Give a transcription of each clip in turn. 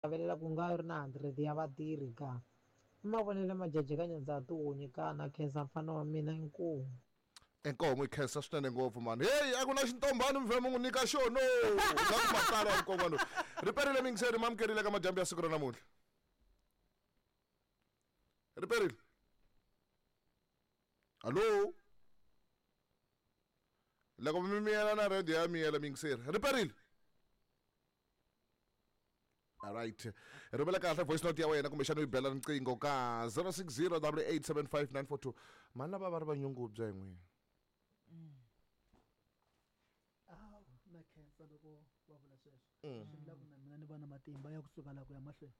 Xavelela ku nga ri na 100 ya vatirhi ka? I mavonelo majaji ka nyandza tihunyi ka na khensa mfana wa mina inkomu. Inkomu yi khensa swinene ngopfu mani. Heyi a ku na xintombhani mi vhe mi n'wi nyika xona. Nga ku matsalwa nkon'wana. Riperile miyingiseri mi amukerile ka madyambu ya siku ra namuntlha. Riperile. Hallo. Loko mi miyela na radio ya miyela miyingiseri. Riperile. Alright. Rhumela kahle voice note ya wena kumbexana u yi bela riqingho ka 0608875942. Mani lava va ri vanyungubya hi n'wina. Awu, na khensa loko va vula sweswo. Swi vula ku na mina ni va na matimba ya kusuka la ku ya mahlweni.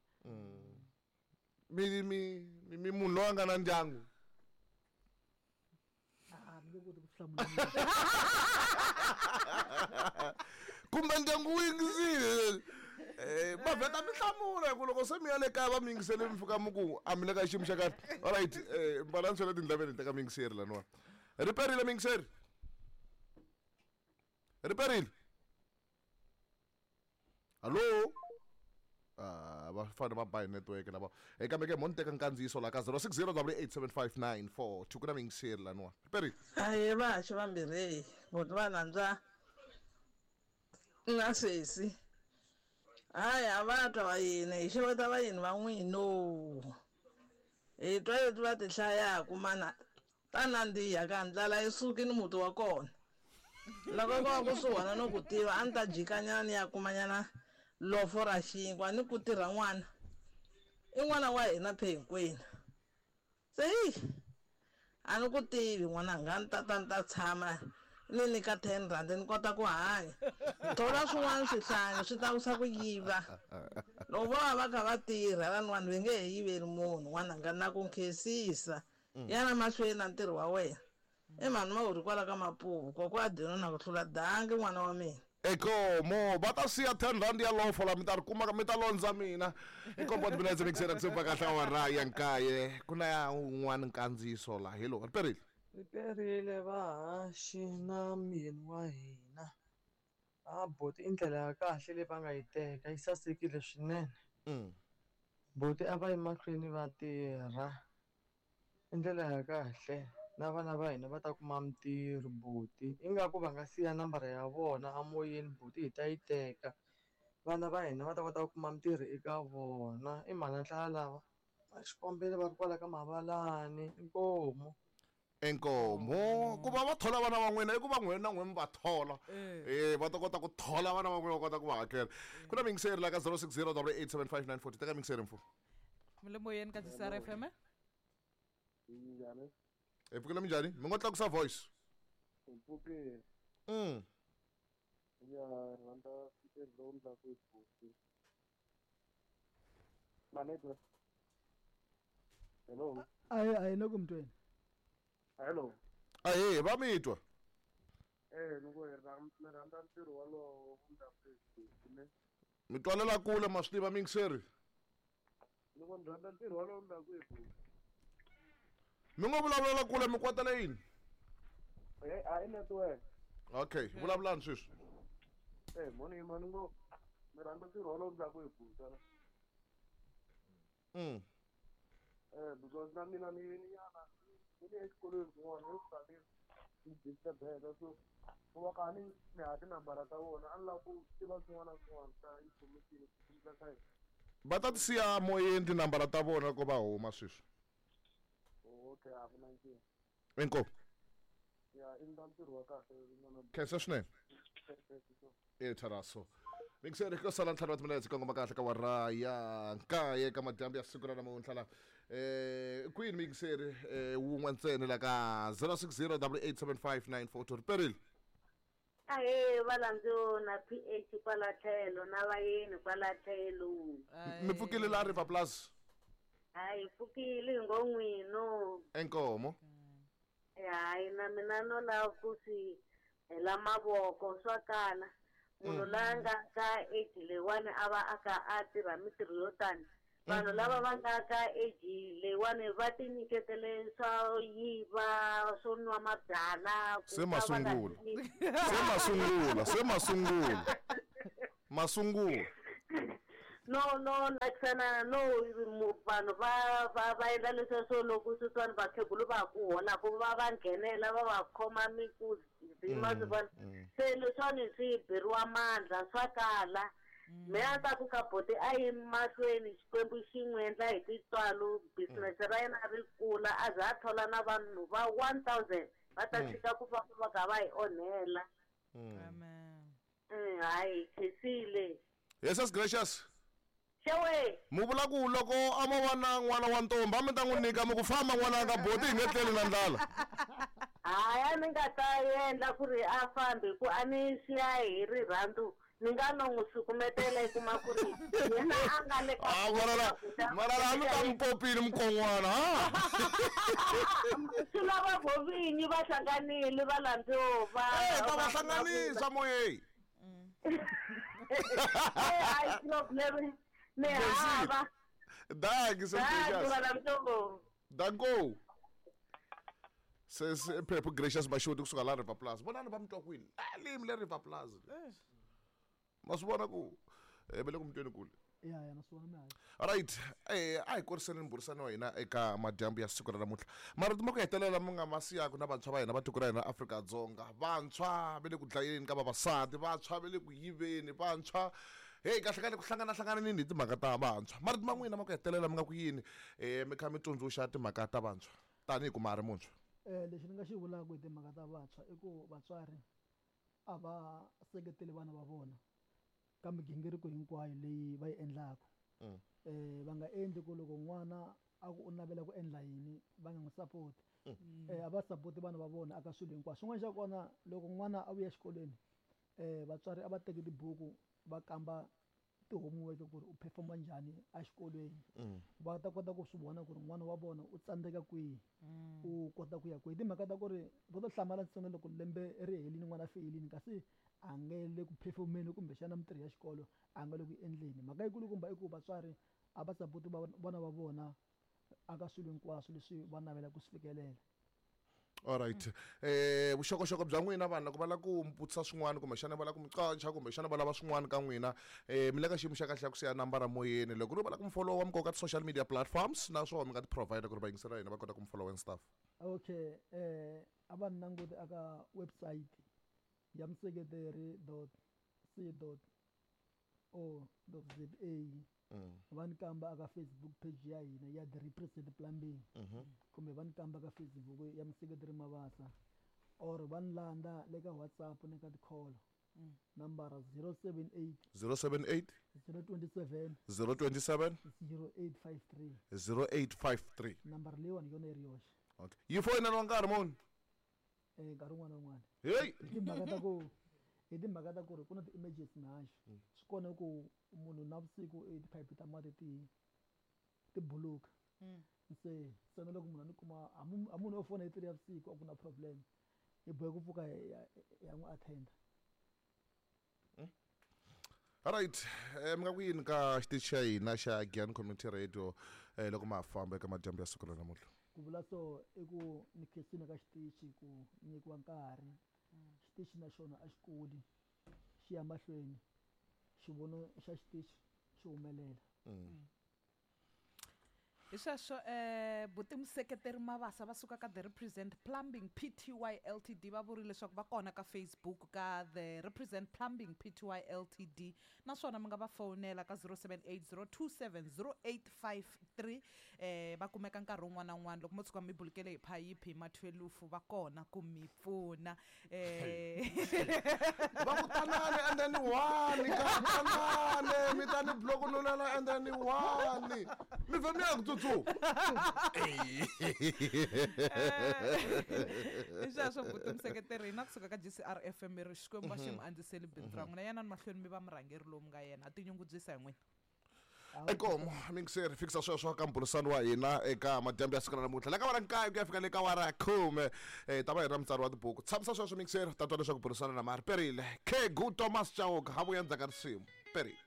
Mi mi mi mi munhu loyi a nga na ndyangu. A ni nge koti ku hlamula. Kumbe ndyangu wu yingisile. Eh, va vheta mi hlamula hi ku loko se mi ya le kaya va mi yingisele mi fika mi ku a mi le ka xiyimo xa kahle. Alright, eh mbala ni swela tindleveni teka miyingiseri laniwa. Riperile miyingiseri. Riperile. Hallo. Ah, va fanele va ba hi network lava. Eh kambe ke mo ni teka nkandziyiso la ka 0608875942 ku na miyingiseri laniwa. Riperile. Ahee vahaxi vambirhi buti va rhandza na sesi hayi a va twa vayeni hi xeweta vayeni va n'wino hi twa leti va ti hlayaku mana Ta nandziha ka ndlala yi sukini muti wa kona. Loko ko va kusuhana no ku tiva a ni ta jikanyana ni ya kumanyana lofo ra xinkwa ni ku tirha n'wana. I n'wana wa hina phe hinkwenu. Se hi a ni ku tivi n'wananga a ni ta ta ni ta tshama ni nyika 10 rand ni kota ku hanya. Thola swin'wana swihlangi swi tlakusa ku yiva. Loko vo va va kha va tirha van'wana va nge he yiveli munhu n'wananga na ku nkhensisa. Yana mahlweni na ntirho wa wena. I mhani Mawuri kwala ka Mapuvu, kokwa Adino na ku hlula dangi n'wana wa mina. Inkomo va ta siya 10 rand ya lofo la mi ta ri kuma mi ta londza mina. Inkomo wa timinetse mixera kusuka kahle awara ya nkaye ku na ya un'wana nkandziyiso la hello riperile. Riperile vahaxi na myeni wa hina. A buti i ndlela ya kahle leyi va nga yi teka yi sasekile swinene. Buti a va yi mahlweni va tirha. I ndlela ya kahle na vana va hina va ta kuma mintirho buti ingaku va nga siya nambara ya vona amoyeni buti hi ta yi teka vana va hina va ta kota ku kuma mintirho eka vona i mhani ndlala lava a xikombelo va ri kwala ka mavalani inkomu. Inkomu ku va va thola vana va n'wina i ku va n'wina na n'wina mi va thola e va ta kota ku thola vana va n'wina va kota ku va hakela ku na miyingiseri la ka 060 875 teka miyingiseri mfo. Mi le moyeni ka GCR FM. Minjhani? Hi pfukile minjhani? Mi ngo tlakusa voice. Hi pfukile. Ya rhandza ntirho lowu endlaku hi buti. Manetwa. Hello. Ayi ayi le ku mi tweni. Hello. Ahee, va mi twa. Eh, ni ku hi ni rhandza ntirho wolowo wu endlaku hi buti ne. Mi twalela kule ma swi tiva miyingiseri. Loko ni rhandza ntirho wolowo ni la ku Mi ngo vulavulela kule mi kwatela yini? Eh, a i network. Okay, vulavulani sweswi. Eh, moni yima ni ngo ni rhandza ntirho wolowo ni la ku hi buta. Eh, because na mina ni ni yana ni le exikolweni kun'wana ni fika ni ni disturbeka so ku va ka ni ni ha tinambara ta vona a ni lava ku tiva swin'wana na swin'wana swa information ku ka hina. Va ta ti siya moyeni tinambara ta vona loko va huma sweswi. Okay, a ku na nkingha. Inkomu. Ya, i ndla ntirho wa kahle n'wana. Khensa swinene. E Tharaso. Mingiseri ko sala ntlhanu wa timinetse kongoma kahle ka wara ya nkaye ka madyambu ya siku ra namuntlha la eh kwini mingiseri eh wun'we ntsena la ka 060 8875942 riperile. Ahee valandzo na PH kwala tlhelo na vayeni kwala tlhelo. Mi pfukile la River Plus. Hayi pfukile hi ngo n'wino. Enkomo. Hayi na mina no lava ku swi hela mavoko swa kala. Munhu la nga ka age leyiwani a va a kha a tirha mintirho yo tani. Vanhu lava va nga ka age leyiwani va ti nyiketele swa yiva swo nwa mabyala ku Se ka va nga masungulo. tivi. Se masungulo, se masungulo. Masungulo. No nakisana no vanhu va endla leswiya swo loko sweswiwani vakhegulu va ha ku holaku va nghenela va khoma mikuzi ma swi vona. Se leswiwani swi beriwa mandla swa kala. Mina a ta ku ka boti a yi mahlweni Xikwembu xi n'wi endla hi tintswalo business ra yena ri kula a za a thola na vanhu va 1000 va ta tshika ku famba va kha va hi onhela. Amen. Hayi khensile. Jesus gracious. Xewe. Mu vula ku loko a mo va na n'wana wa ntombi a mi ta n'wi nyika mi ku famba n'wananga boti hi nge tleli na ndlala. Hayi a ni nga ta endla ku ri a fambi ku a ni siya hi rirhandzu ni nga no n'wi sukumetela i kuma ku ri yena a nga le ka Mara a mi ta mi popile mukon'wana ha. Swi lava vo vinyi va hlanganile va landzo va. Ta va hlanganisa moyeni. Hayi problem ni hava. Danki se. Danko. Se Phephu Gracious Mashoti kusuka la River Plaza. Vonani va mi twa kwini? Limi le River Plaza. Ma swi vona ku ve le ku mi tweni kule. Ya na swi vona mi hayi. Alright, a hi koriseni mbhurisano wa hina eka madyambu ya siku ra namuntlha. Marito ma ku hetelela mi nga ma siyaku na vantshwa va hina va tiko ra hina Afrika-Dzonga. Vantshwa va le ku dlayeni ka vavasati, vantshwa va le ku yiveni, vantshwa hey kahle kahle ku hlangana hlangananini hi timhaka ta vantshwa. Marito ma n'wina ma ku hetelela mi nga ku yini mi kha mi tsundzuxa timhaka ta vantshwa tanihi ku ma ha ri muntshwa? Lexi ni nga xi vulaka hi timhaka ta vantshwa i ku vatswari a va seketeli vana va vona ka migingiriko hinkwayo leyi va yi endlaka. Va nga endli ku loko n'wana a ku u navela ku endla yini va nga n'wi support. A va support vana va vona aka swilo hinkwaswo. Xin'wana xa kona loko n'wana a vuya exikolweni vatswari a va teki tibuku va kamba ti-homework ku ri u performa njhani exikolweni. Va ta kota ku swi vona ku ri n'wana wa vona u tsandzeka kwihi, u kota ku ya kwihi. Timhaka ta ku ri va ta hlamala ntsena loko lembe ri helini n'wana a feyilini kasi a nge le ku performeni kumbexana mintirho ya xikolo a nga le ku endleni. Mhaka yikulukumba i ku vatswari a va support vana va vona aka swilo hinkwaswo leswi va navelaka ku swi fikelela. Alright. Vuxokoxoko bya n'wina vanhu loko va lava ku mi vutisa swin'wana kumbexana va lava ku mi qacha kumbexana va lava swin'wana ka n'wina mi le ka xiyimo xa kahle xa ku siya nambara moyeni loko ri va lava ku mi followa mi koka ti-social media platforms naswona mi nga ti provide ku ri vayingiseri va hina va kota ku mi follow and stuff. Okay, a va ni languti aka website ya mseketeri.c.o.za. Va ni kamba aka Facebook page ya hina ya The Represent Plumbing. Kumbe va ni kamba ka Facebook ya Mseketeri Mabasa or va ni landa le ka WhatsApp ni ka ti-call. Nambara 078 078 027 027 0853 0853. Nambara leyiwani yona yi ri yoxe. Okay. Yi foyineliwa nkarhi muni? Nkarhi wun'wana na wun'wana. Hey! Hi timhaka ta ku ri ku na ti-emergency mihaxo. Swi kona ku munhu navusiku i tiphayiphi ta mati ti buluka. Se ntsena loko munhu a ni kuma a munhu o fona hi 3 ya vusiku a ku na problem. Hi boheka ku pfuka hi ya n'wi attend. Alright, mi nga ku yini ka xitichi xa hina xa Giyani Community Radio loko ma ha famba eka madyambu ya siku ra namuntlha? Ku vula so i ku ni khensile ka xitichi ku nyikiwa nkarhi. Xitichi na xona a xi kuli, xi ya mahlweni. Xivono xa xitichi xi humelela. Hi sweswo buti Museketeri Mabasa va suka ka The Represent Plumbing Pty Ltd va vurile leswaku va kona ka Facebook ka The Represent Plumbing Pty Ltd naswona mi nga va fonela ka 0780270853 va kumeka nkarhi wun'wana na wun'wana loko mo tshuka mi bulukele hi phayiphi hi ma 12 va kona ku mi pfuna. Va ku tanani and then one ka tanani mi ta ni blokunulela and then one mi vhe mi ya ku tsutsuma. I sweswo buti Museketeri hina kusuka ka GCR FM ri Xikwembu xi mi andziseli bindzu ra n'wina yanani mahlweni mi va murhangeri lowu mi nga yena ha tinyungubyisa hi n'wina. Inkomo mingiseri fikisa sweswo ka mbhurisano wa hina eka madyambu ya siku ra namuntlha la ka wara nkaye ku ya fika le ka wara khume ta va hi ri na mutsari wa tibuku tshamisa sweswo mingiseri ta twa leswaku burisana na mari perile Khegu Thomas Chauke ha vuya ndzhaku ka risimu perile.